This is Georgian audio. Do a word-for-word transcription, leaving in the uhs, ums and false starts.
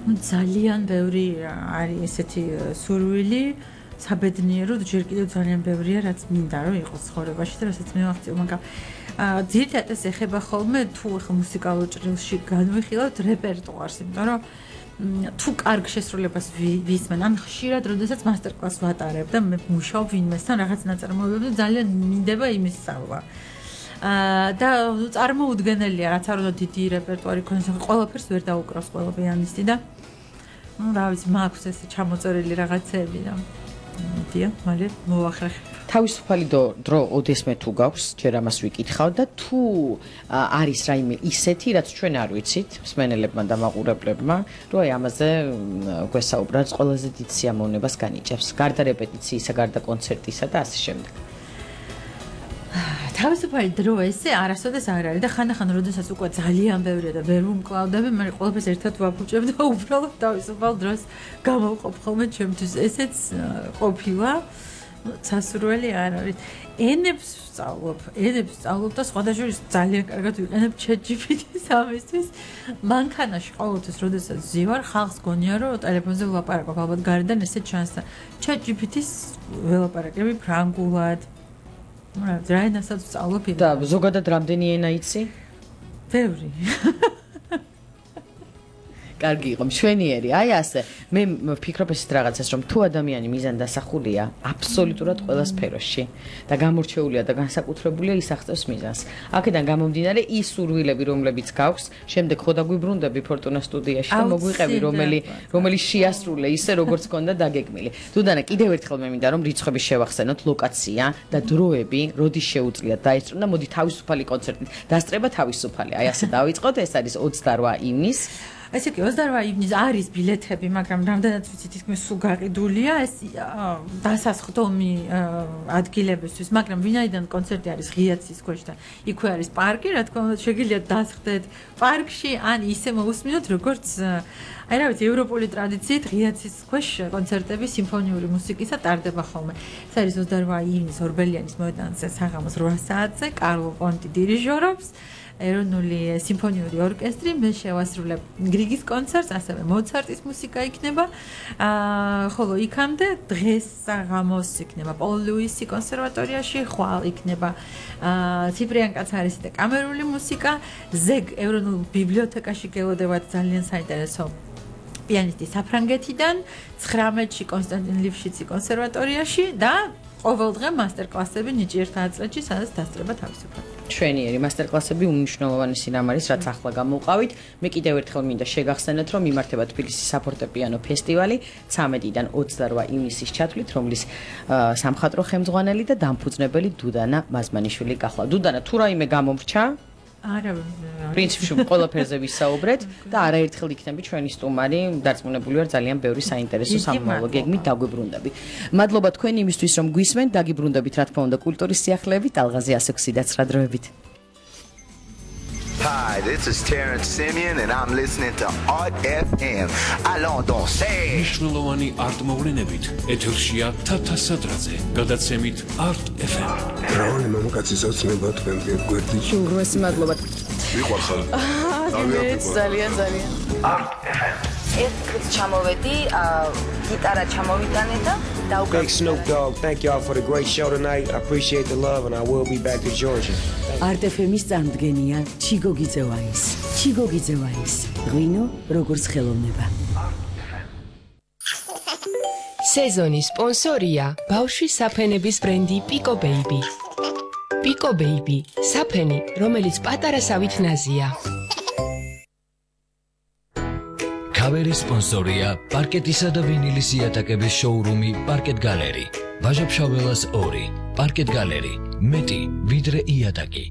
ძალიან ბევრი არის ესეთი სურვილი საბედნიერო ჯერ კიდევ ძალიან ბევრია რაც მინდა რომ იყოს ცხოვრებაში და რასაც მე ვახციო მაგრამ ძირითადად ეს ეხება ხოლმე თუ ახლა მუსიკალურ ჭრილში განვიხილავთ რეპერტუარს იმიტომ რომ თუ კარგ შესრულებას ვისმენ ან ხშირად როდესაც მასტერ-კლასს ვატარებ და მე მუშაობ ვინმესთან რაღაც ნაწარმოებებზე ძალიან მინდება იმის სწავლა და წარმოუდგენელია რაც არ უნდა დიდი რეპერტუარი ქონდეს ყველაფერს ვერ დაუკრავს ყველა პიანისტი და ну რა ვიცი მაქვს ესე ჩამოწერილი რაღაცები და მიდია მალე მოვახრეხებ თავისუფალი დრო ოდესმე თუ გაქვს ჯერ ამას ვიკითხავ და თუ არის რაიმე ისეთი რაც ჩვენ არ ვიცით მსმენელებმა და მაყურებლებმა რომ აი ამაზე გვესაუბროთ ყველაზე დიდ სიამოვნებას განიჭებს გარდა რეპეტიციისა გარდა კონცერტისა და ასე შემდეგ თავისუფალი დრო ესე არასოდეს არ არის და ხანდახან როდესაც უკვე ძალიან ბევრია და ვერ ვუმკლავდები მე ყველაფერს ერთად ვაფუჭებ და უბრალოდ თავისუფალ დროს გამოვყოფ ხოლმე ჩემთვის ესეც ყოფილა სასურველი არ არის ენებს ვსწავლობ ენებს ვსწავლობ და სხვადასხვა ძალიან კარგად ვიყენებ ChatGPT-ს ამისთვის მანქანაში ყოველთვის როდესაც ვზივარ ხალხს გონია რომ ტელეფონზე ვლაპარაკობ ალბათ გარედან ესე ჩანს და ChatGPT-ს ველაპარაკები ფრანგულად რა ენასაც ვსწავლობ და ზოგადად რამდენი ენა იცი? ბევრი კარგი იყო მშვენიერი აი ასე მე ვფიქრობ ესეთ რაღაცას რომ თუ ადამიანი მიზანდასახულია აბსოლუტურად ყველა სფეროში და გამორჩეულია და განსაკუთრებულია ის აღწევს მიზანს აქედან გამომდინარე ის სურვილები რომლებიც გაქვს შემდეგ ხო დაგვიბრუნდები ფორტუნა სტუდიაში და მოგვიყევი რომელი რომელი შეასრულე ისე როგორც ქონდა დაგეგმილი თუდანა კიდევ ერთხელ მე მინდა რომ რიცხვები შევახსენოთ ლოკაცია და დროები როდის შეუძლიათ დაესწრო და მოდი თავისუფალი კონცერტით დასწრება თავისუფალი აი ასე დავიწყოთ ეს არის ოცდარვა ივნის ესე იგი ოცდარვა ივნის არის ბილეთები, მაგრამ რამდენად ვიცი თითქმის სულ გაყიდულია ეს დასასხდომი ადგილებისთვის, მაგრამ ვინაიდან კონცერტი არის ღიაცის ქვეშ და იქვე არის პარკი, რა თქმა უნდა, შეგიძლიათ დასხდეთ პარკში, ან ისე მოусმინოთ, როგორც აი რა ვიცი, ევროპული ტრადიციით ღიაცის ქვეშ კონცერტები სიმფონიური მუსიკისა ტარდება ხოლმე. ეს არის ოცდარვა ივნის ორბელიანის მოედანზე საღამოს რვა საათზე, კარლო პონტი დირიჟორობს. ეროვნული სიმფონიური ორკესტრი მე შევასრულებ გრიგის კონცერტს, ასევე მოცარტის მუსიკა იქნება. აა ხოლო იქამდე დღეს საღამოს იქნება პოლ ლუისი კონსერვატორიაში, ხვალ იქნება აა ციფრიან კაცარისი და კამერული მუსიკა, ზეგ ეროვნულ ბიბლიოთეკაში გელოდებათ ძალიან საინტერესო პიანისტი საფრანგეთიდან, ცხრამეტში კონსტანტინ ლიფშიცი კონსერვატორიაში და ყოველდღე მასტერ-კლასები ნიჭიერთა აწრეთში, სადაც დასწრება თავისუფლად. ჩვენიერი მასტერ-კლასები უმნიშვნელოვანესი რამ არის, რაც ახლა გამოვყავით. მე კიდევ ერთხელ მინდა შეგახსენოთ, რომ იმართება თბილისის საფორტეპიანო ფესტივალი ცამეტიდან ოცდარვა ივნისის ჩათვლით, რომლის სამხატვრო ხელმძღვანელი და დამფუძნებელი დუდანა მაზმანიშვილი გახლა. დუდანა, თუ რაიმე გამომრჩა? არა, პრინციპში ყველაფერზე ვისაუბრეთ და არაერთხელ იქნები ჩვენი სტუმარი, დარწმუნებული ვარ ძალიან ბევრი საინტერესო სამომავლო გეგმით დაგვიბრუნდები. მადლობა თქვენ იმისთვის, რომ გვისმენთ, დაგიბრუნდებით რა თქმა უნდა კულტურის სიახლეებით, ალღაზე ასე გვსიდათ რა დროებით. Hi, this is Terrence Simeon and I'm listening to Art F M. Allons danser. მნიშვნელოვანი არტ მოვლენებით ეთერშია თათა სადრაძე, გადაცემით Art F M. რავალი მამაკაცის ოცნება თქვენზე გვერდით. უღრმესი მადლობა. ვიყვარხარ. აა, ძალიან ძალიან. Art F M. ეს დღეს ჩამოვედი, გიტარა ჩამოვიტანე და Big Snoop Dogg, thank y'all for the great show tonight. I appreciate the love and I will be back to Georgia. Art F M-ის წარმოდგენია ჩიგო გიძევაის. ჩიგო გიძევაის. ღვინო როგორც ხელოვნება. სეზონის სპონსორია ბავშვის საფენების ბრენდი Pico Baby. Pico Baby, საფენი, რომელიც პატარასავით ნაზია. კავერის სპონსორია პარკეტისა და ვინილის იატაკების შოურუმი პარკეტ გალერი. ვაჟა-ფშაველას ორი. პარკეტ გალერი. მეტი ვიდრე იატაკი.